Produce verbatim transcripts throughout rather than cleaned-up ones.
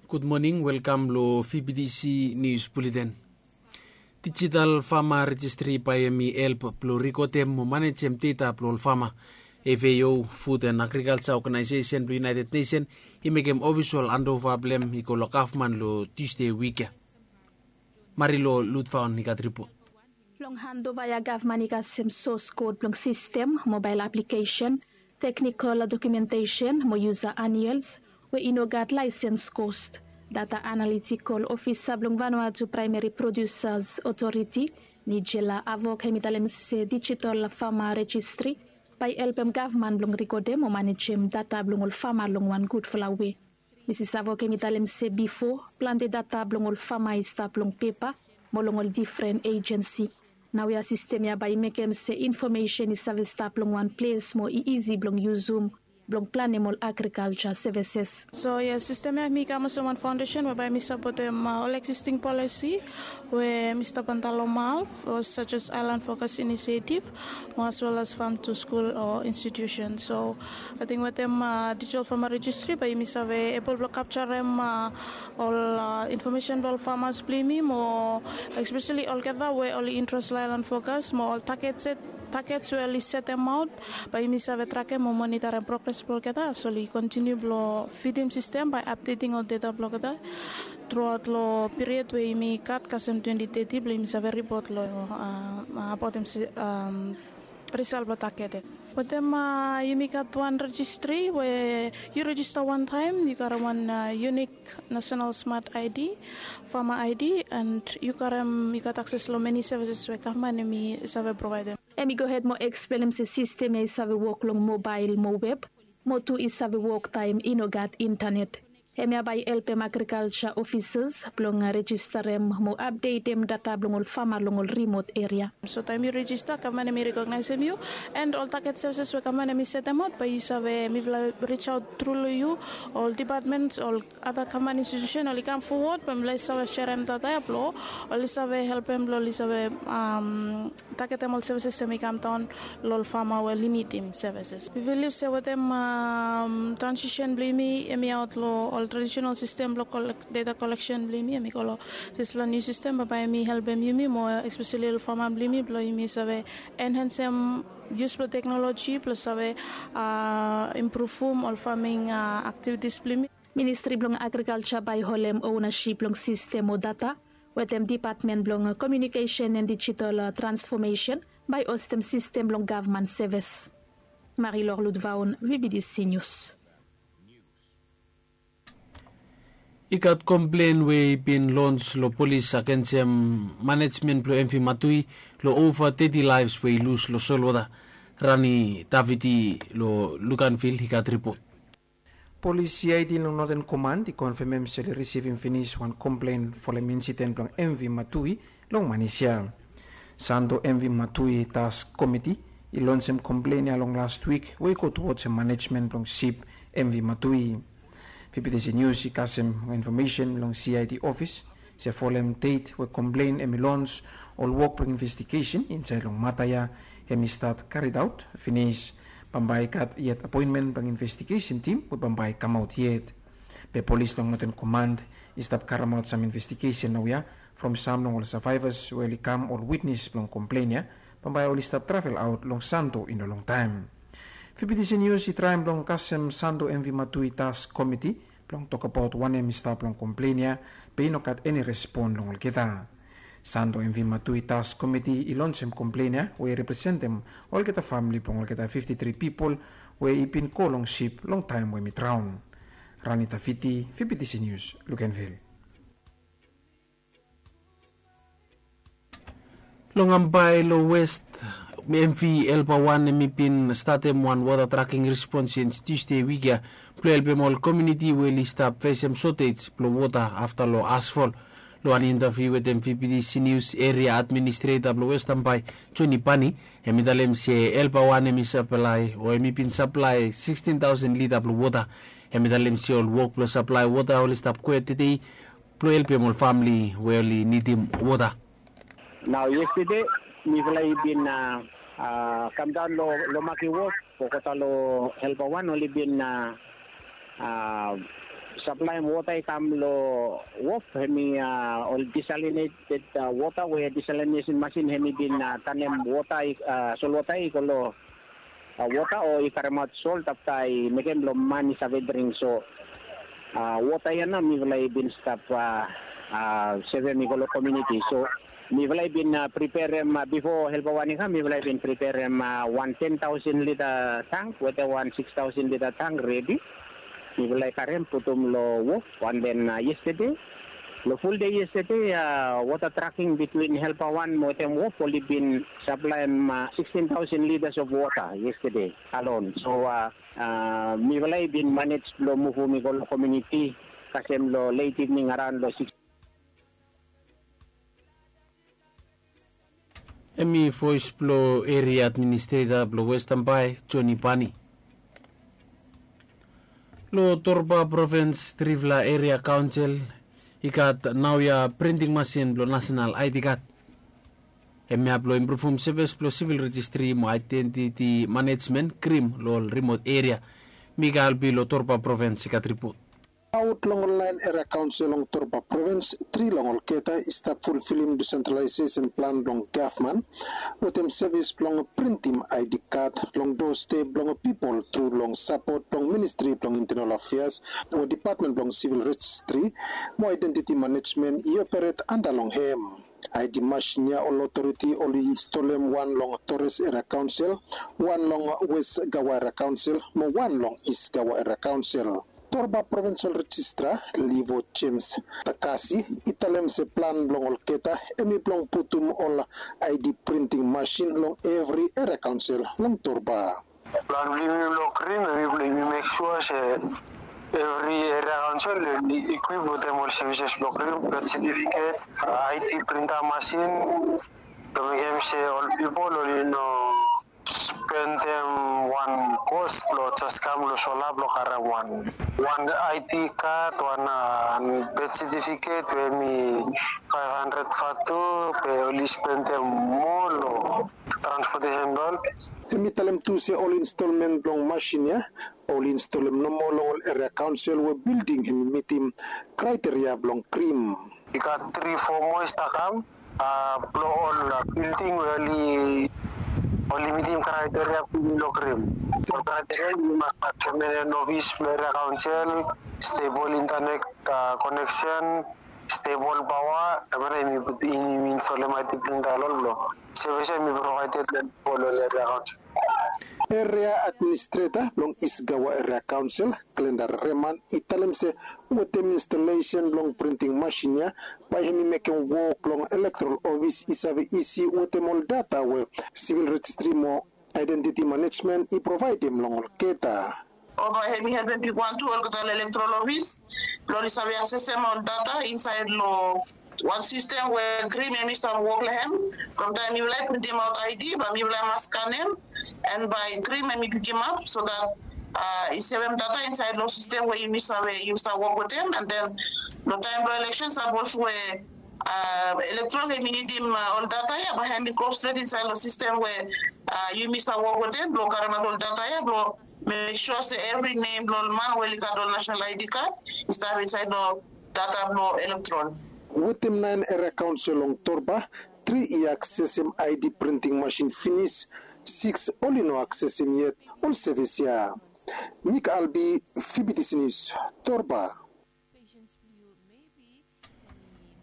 Gud moning, welkam long V B T C News Bulletin. Digital Farmer Registry bae hemi help blong rikodem mo manejem data blong ol fama. F A O, Food and Agriculture Organization blong United Nation, i mekem ofisol andova blong hem i go long gavman long Tusde wik ya. Marilo Ludvaon i gat ripot. Long handova ya gavman i kasem source code blong sistem, mobile application, technical documentation mo user annuals we i no gat license cost. Data analytical officer blong Vanuatu Primary Producers Authority, Nigella Avok, hemi talem se digital farmer registry bae i helpem gavman blong rikodem mo manejem data blong ol fama long wan gudfala wei. Misis Avok hemi talem se bifo, plante data blong ol fama i stap long pepa mo long ol difren ejensi. Naoia sistem ya bae i mekem se infomesen i save stap long wan ples mo i isi blong yusum blong planem ol agrikalja sevises. So ya, sistem ya hemi kam olsem wan faondesen we bae hemi sapotem ol existing policy we hemi stap antap long MALF, such as Island Focus Initiative, mo as well as Farm to School o institution. So ating wetem digital farmer registry bae yumi save ebol blong kapjarem ol infomesen blong ol famas blong yumi, mo especially olgeta we oli interes long Island Focus, mo ol targets we oli setemaot, bae yumi save trakem mo monitorem progres blong olgeta as oli kontiniu blong fidim sistem bae apdeting ol data blong olgeta truaot long period we yumi gat kasem twenti teti blong yumi save ripot long abaotem risal blong target ya. Wetem yumi gat wan registri we yu rejista wantaem, yu karem wan unik national smart I D, farmer I D, and yu karem, yu gat akses long meni sevises we gavman hemi save provaedem. Hemi gohed mo eksplenem se sistem ya i save wok long mobael mo web, mo tu i save wok taem i no gat intanet. Hemia bae i helpem agrikalja ofisas blong rejistarem mo apdetem data blong ol fama long ol rimot eria. So taem yu rejista, gavman hemi rekognaesem yu, and ol target sevises we gavman hemi setemaot bae yu save, mifala rijaot tru long yu, ol depatmens, ol ada gavman institusen oli kam fowod bae mifala i save serem data ya blong oli save helpem blong oli save targetem ol sevises hemi kamdaon long ol fama we oli nidim sevises. Mi bilif se wetem transisen blong yumi hemi aot long ol tradisenal sistem blong data koleksen blong yumi hemi go long dispela niu sistem, bae bae hemi helpem yumi moa, espeseli ol fama blong yumi, blong yumi save enhansem yus blong teknoloji blong save impruvum ol faming aktivitis blong yumi. Ministri blong Agrikalja bae i holem onasip long sistem o data wetem Depatmen blong Komiunikesen and Digital Transfomesen bae i hostem sistem blong gavman sevis. Marilor Ludvaon, V B D C News. I gat komplen we i bin lons long polis agensem manejmen blong M V Matui long ova teti laefs we i lus long solwota. Rani Davidi long Luganvil i gat ripot. Polis C I D long Northern Command i konfemem se oli risivim finis wan komplen folem insiden blong M V Matui long Manis ya. Santo M V Matui Task Komiti i lonsem komplen ya long last wik we i go tuwodsem manejmen blong sip M V Matui. V B T C News i kasem infomesen long C I D ofis se folem det we komplen hemi lons, ol wok blong investigesen insaed long mata ya hemi stat karidaot finis. Bambae i gat yet apoenmen blong investigesen tim we bambae i kamaot yet. Be polis long Northern Command i stap karemaot sam investigesen naoia from sam long ol savaevas we oli kam ol witnes blong komplen ya, bambae oli stap travel aot long Santo i no longtaem. V B T C News i traem blong kasem Santo M V Matui Task Komiti blong tokbaot wanem i stap long komplen ya, be i no gat eni respon long olgeta. Santo M V Matui Task Komiti i lonsem komplen ya we i representem olgeta famili blong olgeta fifti tri pipol we i bin go long sip long taem we hemi draon. Rani Davidi, V B T C News, Luganvil. Long Ambae long West, M V Helper wan hemi bin statem wan wota traking respons since Tusde wik ya blong helpem ol komuniti we oli stap fesem sotej blong wota afta long asfol. Long wan intaviu wetem V B T C News, Eria Administreta blong West Ambae, Joni Pani, hemi talem se Helper wan hemi saplae o hemi bin saplae sikstin taosen lita blong wota. Hemi talem se ol wok blong saplae wota oli stap go hed tede blong helpem ol famili we oli nidim wota. Nao yestede mifala i bin a, a, kamdaon long, long makim wok, olgeta long Helper wan oli bin a, a, Saplaem wota i kam long wof, hemi ol disalinited wota we disalinesin masin hemi bin tanem wota, solwota i go long wota o i karemaot sol afta i mekem long man i save dring. So wota ya nao mifala i bin stap sevem i go long komiuniti. So mifala i bin preperem bifo helpa wan i kam, mifala i bin preperem wan ten taosen lita tank wetem wan six taosen lita tank redi. Mifala i karem putum long wof. An den yestede, long fuldei yestede, wota traking bitwin helpa wan wetem wof oli bin saplaem sixteen thousand liters of wota yestede alon. So mifala i bin manej blong muvum i go long komiuniti kasem long leit ivning araon long six. Hemi voes blong eria administreta blong westan bae, Joni Pani. Long Torba provins, trifala eria kaonsel i gat naoia printing masin blong nasenal aedi kad. Hemia blong impruvum sevis blong sivil rejistri mo aedentiti manejmen krim long ol rimot eria. Mikael bi long Torba provins i gat ripot. Aot long ol naen eria kaonsel long Torba provins, tri long olgeta i stap fulfilim disentralaesesen plan blong gavman wetem sevis blong printim aedi kad long doste blong pipol tru long sapot blong ministri blong intenal afeas o dipatmen blong sivil rejistri mo aedentiti manejmen i operet anda long hem. Aedi masin ya ol otoriti oli instolem wan long Tores eria kaonsel, wan long Wes Gawa eria kaonsel mo wan long Is Gawa eria kaonsel. Torba provinsal rejistra Livo Jemes Takasi i talem se plan blong olgeta hemi blong putum ol aedi printing masin long evri eria kaonsel long Torba. Plan blong yumi blong krim, yumi mek sua se evri eria kaonsel oli ekwip wetem ol sevises blong krim, bet setifiket, aedi printa masin, blong mekem se ol pipol oli no spendem wan kos blong jes kam long sola blong karem wan, wan aedi kad, wan bet setifiket we hemi faef handred vatu, be oli spendem moa long transpotesen blong ol. Hemi talem tu se ol instolmen blong masin ya oli instolem nomo long ol eria kaonsel we bilding hemi mitim kraeteria blong krim. I gat tri fo moa i stap kam blong ol bilding we oli mitim kraeteria blong krim. Ol kraeteria i mas gat pemenan ofis blong eria kaonsel, stebol intanet koneksen, stebol paoa, hemia nao yumi instolem aedi printa long ol blong sevis ya hemi provaeded long ol eria kaonsel. Eria administreta blong Is Gawa eria kaonsel, Glenda Reman, i talem se wetem instolesen blong printing masin ya bae hemi mekem wok long elektoral ofis i save isi wetem ol data we sivil rejistri mo aedentiti manejmen i provaedem long olgeta. O bae hemi helpem pik wan tu olgeta ol elektoral ofis blong oli save aksesem ol data insaed long wan sistem we krim hemi stap wok long hem. From taem mifala i printimaot aedi bae mifala i mas skanem, an bae krim hemi pikimap so dat i sevem data insaed long sistem we yumi save yumi stap wok wetem, an den long taem blong eleksen sapos we elektoral hemi nidim ol data ya bae hemi go stret insaed long sistem we yumi stap wok wetem blong karemaot ol data ya blong mek sua se evri nem blong ol man we oli gat ol nasenal aedi kad i stap insaed long data blong elektoral. Wetem naen eria kaonsel long Torba, tri i aksesem aedi printing masin finis, siks oli no aksesem yet ol sevis ya. Mik Albi, Fibitisi Nius, Torba.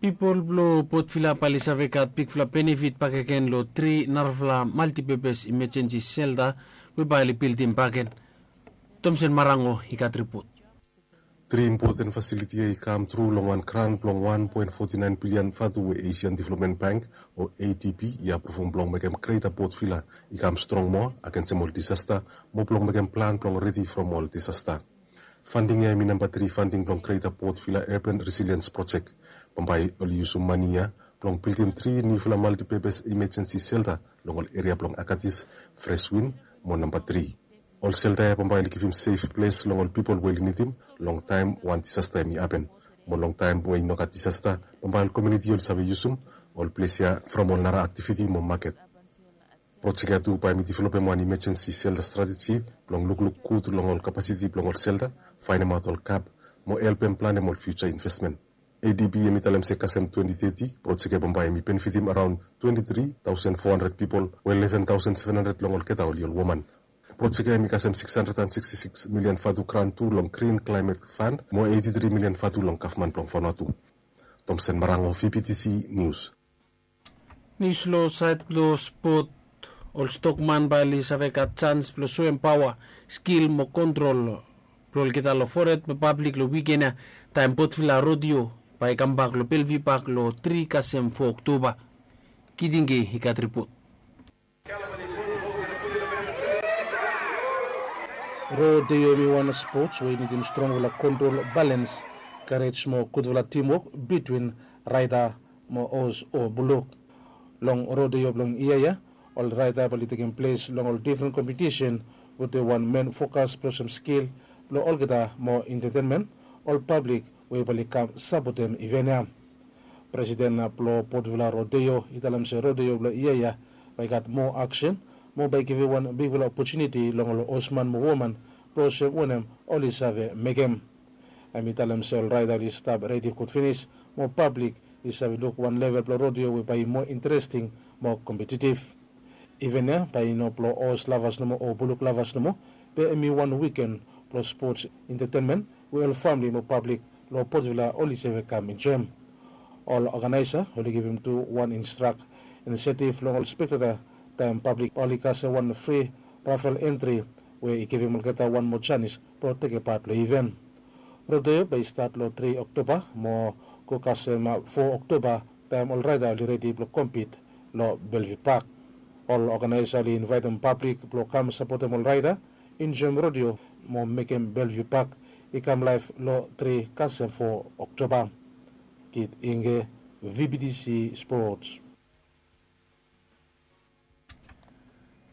Pipol blong Port Vila bae oli save gat bigfala benefit bakegen long tri narafala maltipepes imejensi selta we bae oli bildim bakegen. Tomsen Marango i gat ripot. Tri impoten fasiliti ya i kam tru long wan grant blong wan poen foti naen bilian vatu we Asian Development Bank o A D B i apruvum blong mekem Greta Port Vila i kam strong moa agensem ol disasta mo blong mekem plan blong redi from ol disasta. Fanding ya hemi namba tri fanding blong Greta Port Vila Urban Resilience Project. Bambae oli yusum mane ya blong bildim tri niufala maltipepes imejensi selta long ol eria blong Akatis, Freswin mo namba tri. Ol selta ya bambae oli givim sef ples long ol pipol we oli nidim long taem wan disasta hemi hapen. Mo long taem we i no gat disasta, bambae ol komiuniti oli save yusum ol ples ya from ol nara aktiviti mo maket. Projek ya tu bae hemi developem wan imejensi selta strateji blong lukluk gud long ol kapasiti blong ol selta, faenemaot ol gap mo helpem planem ol fiuja investmen. Adb hem i talem se kasem twenti teti projek ya bambae hem i benefitim araon twenti tri taosen fo handred pipol, we eleven taosen seven handred long olgeta oli ol woman. Projek ya hem i kasem sikis handred and siksti sikis milian vatu gran tu long grin klaemet fand mo eiti tri milian vatu long gavman blong Vanuatu. Tomsen Marango, vptc Nius. Nius long saed blong spot. Ol stokman bae oli save gat jans blong soem paoa, skil mo kontrol blong olgeta long fored mo pablik long wiken ya, taem Potvila Rodeo bae i kambak long Belvi Pak long tri kasem fo Oktoba. Kidinge i gat ripot. Rodeo hem i wan spots we i nidim strongfala kontrol, balens, karej mo gudfala timwok bitwin raeda mo os o buluk. Long rodeo blong yia ya, ol raeda bae oli tekem ples long ol difren kompetisen, wetem wan men fokas blong olsem skil blong olgeta mo entetenmen ol pablik we bae oli kam sapotem iven ya. Presiden blong Potvila Rodeo i talem se rodeo blong yia ya bae i gat moa aksen mo bae i givim wan bigfala opotuniti long ol osman mo woman blong olsem wanem oli save mekem. Hem i talem se ol raeda oli stap redi gud finis mo pablik i save luk wan level blong rodeo we bae i moa interesting mo kompetitiv. Iven ya bae i no blong os lavas nomo o buluk lavas nomo, be hem i wan wiken blong spots, entetenmen we ol famle mo pablik long Potvila oli save kam enjoem. Ol oganaesa oli givim tu wan instrak inisetiv long ol spekteta taem pablik oli kasem wan fri rafel entri we i givim olgeta wan moa janis blong tekem pat long iven. Rodeo bae i stat long tri Oktoba mo go kasem fo Oktoba taem ol raeda oli redi blong kompit long Belvi Pak. Ol oganaesa oli invaetem pablik blong kam sapotem ol raeda, enjoem rodeo mo mekem Belvi Pak i kam laef long tri kasem fo Oktoba. Kit Inge, vptc Spots.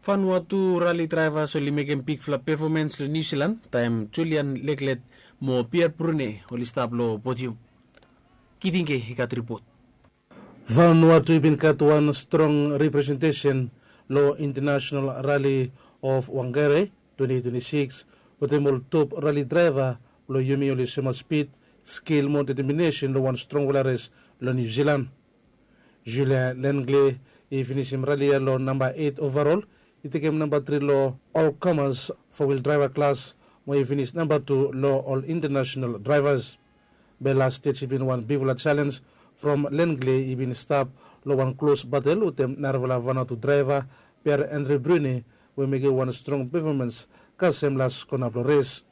Vanuatu rali draevas oli mekem bigfala pefomans long Niu Silan taem Julian Leklet mo Pierre Brune oli stap long podium. Kidinge i gat ripot. Vanuatu i bin gat wan strong representesen long International Rali of Wangere twenti twenti sikis, wetem ol top rali draeva blong yumi oli soemaot spid, skil mo deteminesen long wan strongfala res long Niu Silan. Julien Lengle i finisim rali ya long namba eit ovarol, i tekem namba tri long ol komas fo wil draeva klas, mo i finis namba tu long ol intanasenal draevas. Be las stej i bin wan bigfala jalenj from Lengle i bin stap long wan klos batel wetem narafala Vanuatu draeva, Pierre Andre Brune, we mekem wan strong pefomans kasem las kona blong res.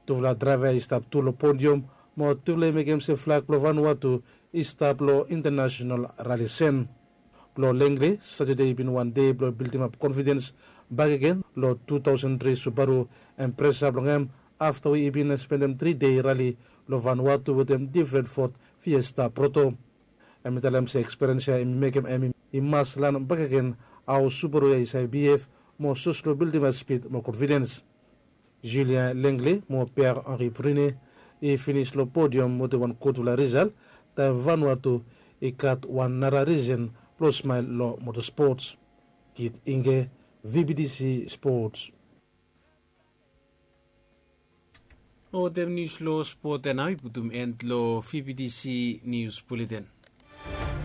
Tufala draeva i stap tu long podium, mo tufala i mekem se flag blong Vanuatu i stap long intanasenal rali sen. Blong Lengle, Satade i bin wan dei blong bildimap konfidens bakegen long tu taosen tri Subaru Impreza blong hem, afta we i bin spendem tri dei rali long Vanuatu wetem difren Ford Fiesta Proto. Hem i talem se ekspiriens ya i mekem hem i mas lan bakegen hao Subaru ya i save bihef mo sos long bildimap spid mo konfidens. Julien Lengle mo Pierre Henri Brune i finis long podium wetem wan gudfala risal, taem Vanuatu i gat wan nara risen blong smael long motosports. Kit Inge, vptc Sports. Wetem nius long spot ya nao i putum en long vptc Nius Buleten.